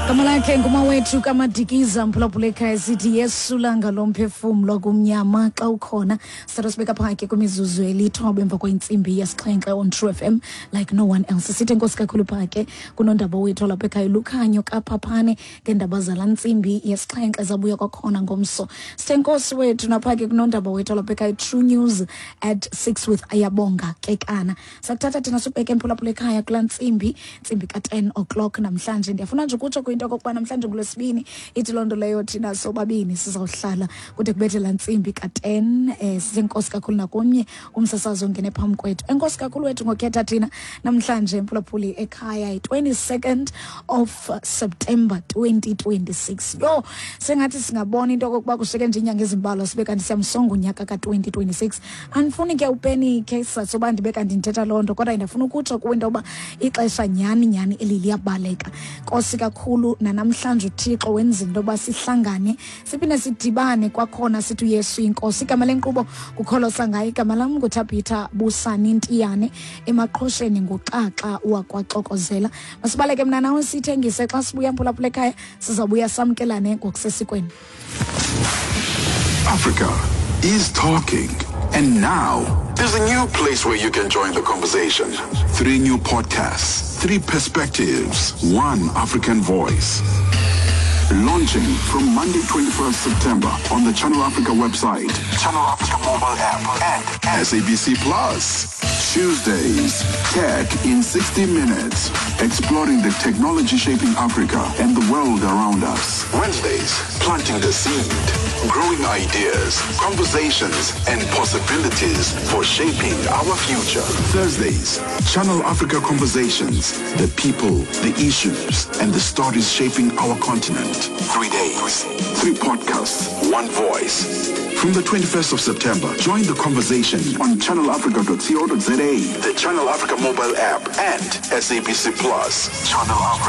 Gama lakhe ngumawethu kaMadikiza, mphulaphula ekhaya. Sithi Yesu langa lomphefumlo kumnyama xa ukhona. Sithatha sibeka phake kwimizuzu 9 emva kwentsimbi yesi-7 on True FM like no one else. Sithi enkosi kakhulu phake kunondaba wethu lapha ekhaya, Lukhanyo Kaphaphane, ngeendaba zala ntsimbi yesi-7 zabuya kwakhona ngomso. Sithe enkosi wethu naphake kunondaba wethu lapha ekhaya, True News at 6 with Ayabonga Kekana. Sakuthatha thina sibheke, emphulaphula ekhaya, kulaa ntsimbi ka-10 o'clock namhlanje. Ndiyafuna nje ukutsho kwinto okokuba namhlanje ngulwesibini, ithi loo nto leyo thina sobabini sizawuhlala kude kubethe laa ntsimbi ka-10. Sisenkosi kakhulu nakomnye umsasazi ongene phambi kwethu. Enkosi kakhulu wethu ngokhetha thina namhlanje, mphulaphuli ekhaya, yi-22nd of September 2026. Yho, sengathi singabona into okokuba kushiyeke nje iinyanga ezimbalwa sibe kanti siyamsonga unyaka ka-2026. Andifuni ke upenike soba ndibe kanti ndithetha loo nto, kodwa ndiyafuna ukutsho kuwe into yoba ixesha nyhani nyhani eli liyabaleka. Nkosi kakhulu nanamhlanje uThixo wenza into yoba sihlangane, siphinde sidibane kwakhona, sithi uYesu inkosi. Igama lenkqubo kukholosa ngayo. Igama lam nguThabitha Busani Ntiyane, emaqhosheni nguxaxa wakwaxokozela. Masibaleke mna nawe sithengise. Xa sibuya, mphulaphula ekhaya, sizawubuya samkelane ngokusesikweni. Africa is talking. And now, there's a new place where you can join the conversation. Three new podcasts, three perspectives, one African voice. Launching from Monday, 21st September on the Channel Africa website, Channel Africa mobile app, and SABC Plus. Tuesdays, Tech in 60 Minutes, exploring the technology shaping Africa and the world around us. Wednesdays, planting the seed, growing ideas, conversations, and possibilities for shaping our future. Thursdays, Channel Africa Conversations, the people, the issues, and the stories shaping our continent. 3 days, three podcasts, one voice. From the 21st of September, join the conversation on channelafrica.co.za, the Channel Africa mobile app, and SABC Plus. Channel Africa.